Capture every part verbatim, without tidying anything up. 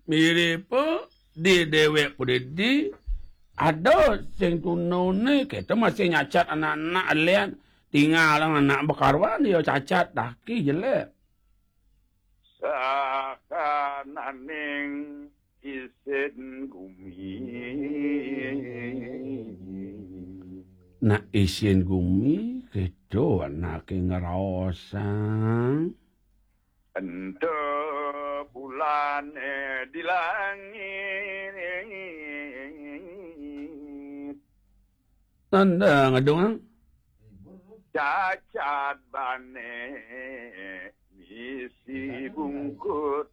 Mirip di déwék pun dadi ada sing tunane, kita masih nyacat anak-anak alian tinggal anak bekaruan dia cacat daki jelek. Sakananing isin gumi. Nak isin gumi, kita anake ngraosang. Ento bulane di langit. Tanda ngadong. Cacat bane misi bungkut.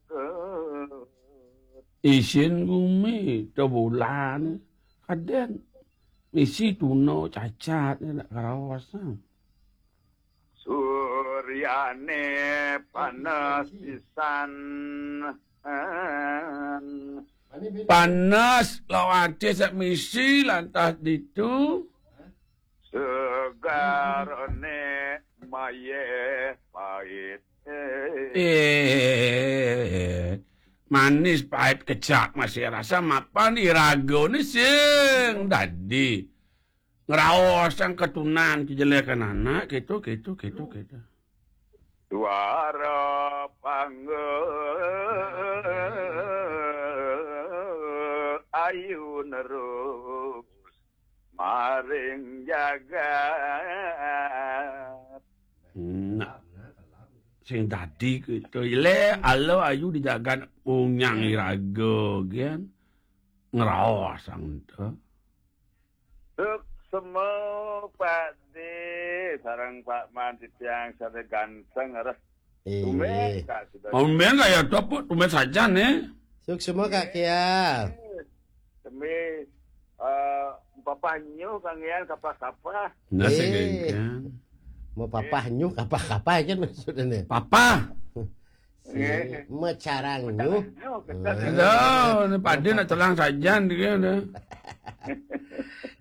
Isin gumi to bulan kaden misi tuna cacat nak karaos. Suryane panas pisan. Panas lawate sak misi lantas ditu. Segarane maye pait. Eh, manis pait kecak masih rasa mapan iragane sing dadi ngraosang ketunan kejelekan anak gitu, gitu, gitu, gitu. Suara pangga ayu nerus maring jagat. Nah, sing dadi gitu. Le, ala ayu di jagat unyang iraga, gen. Ngraosang to. Suksma, Pak De, sareng Pak Man titiang sane ganteng, res. Tumben, Kak, sudah. Tumben kaya topuk, tumben sajan, eh. Suksma, Kak Kial. Demi, eh, Papah Nyuh, Kang Yan, kapah-kapah. Nah, sing kan. Mau Papah Nyuh, kapah-kapah kan maksudnya. Papah. Si Mecarang Nyuh. Nyuh, kita. Aduh, ini pade nak telang sajan dia dah.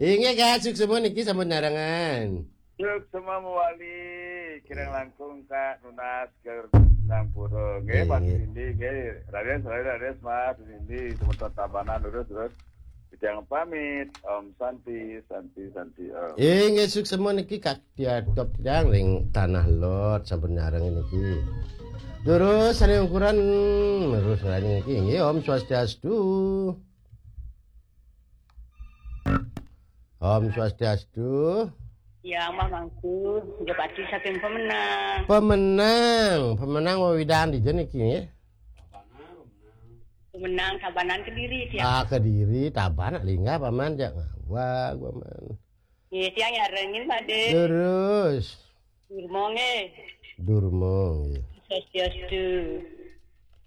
Inggih, Kak, suksma niki sampun narengan. Suksma mewali, kirang langkung, Kak, nunas ke Nampura. Nggih, Pak Sindi, nggih. Raden, Raden, Raden, Mas Sindi, semeton Tabanan, terus, terus. Titiang pamit. Om Santi, Santi, Santi, Om. Inggih, suksma niki, Kak, diadop titiang ring Tanah Lot, sampun nyareng niki. Terus, sane ukuran, terus ngrani niki. Inggih, Om Swastiastu. Om Swastiastu. Ya, Mbah Mangku, Jepati saking Pemenang. Pemenang, Pemenang wewidan dija niki nggih? Pemenang, Tabanan, Kediri, tiang. Ah, Kediri, Tabanan, linggah, Paman, jak ngawag, Paman. Nggih, tiang nyarengin, Pak De. Terus. Durma, nggih. Durma, nggih. Swastiastu.